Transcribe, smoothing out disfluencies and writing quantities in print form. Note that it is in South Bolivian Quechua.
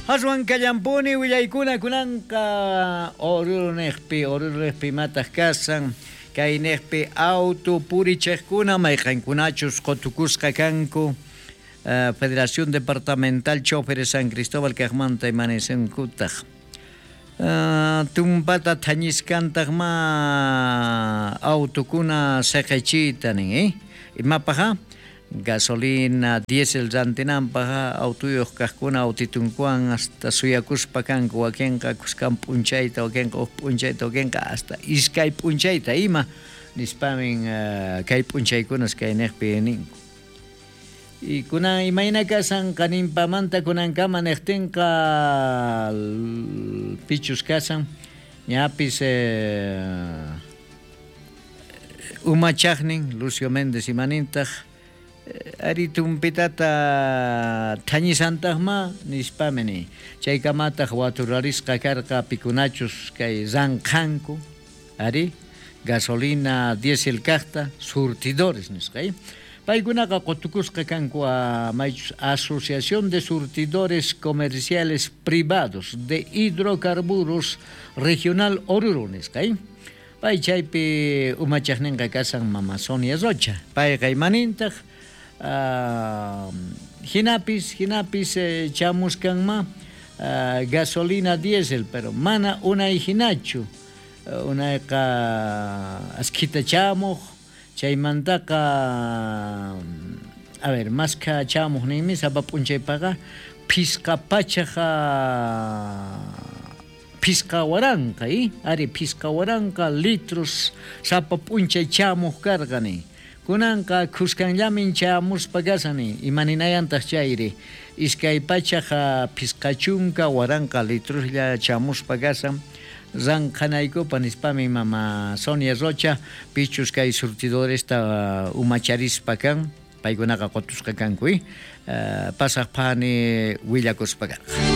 Aswan kallampuni willaykuna kunanqa Oruro niqpi imataq kasan, kay niqpi auto purichiqkuna mayqankunachus qutukusqa kanku Federación Departamental Choferes San Cristóbal kaqmanta imanisinkutaq tumpata thañiskantaq ma autokuna siqichiyta nin, imapaq? Gasolina, diésel rantinanpaq autoyuq kaqkuna autitunkuwan hasta suyakuspa kanku, wakinqa kuskan p'unchayta, wakinqa huk p'unchayta, wakinqa hasta iskay p'unchayta ima nispamin kay p'unchaykunas kay niqpi ninku. Y kunan imayna kasan qaninpamanta kunankama niqtinqa pichus kasan ñapis umachaqnin Lucio Méndez imanintaq ari tumpitata thañisantaqma nispami ni chaykamataq waturarisqa karqa pikunachus kay ranqhanku ari gasolina diésel kaqta surtidores nisqa paykunaqa qutukusqa kanku maychus Asociación de Surtidores Comerciales Privados de Hidrocarburos Regional Oruro nisqa pay chaypi umachaqninqa kasan mama Sonia Rocha payqa imanintaq hinapis chamuskanma gasolina diésel pero mana unay hinachu unayqa askhita chamuq chaymantaqa a ver maskha chamuq ninmi sapa p'unchaypaqa phisqa pachaqa phisqa waranqa ari phisqa waranqa litros sapa p'unchay chamuq karqa nin kunanqa khuskanllamin chamuspa kasan nin imaninayantaq chayri iskay pachaqa phisqa chunka waranqa litroslla chamuspa kasan ranqhanaykupa nispami mama Sonia Rocha pichus kay surtidoresta umacharispa kan paykunaqa qutusqa kanku pasaq phani willakuspa karqa.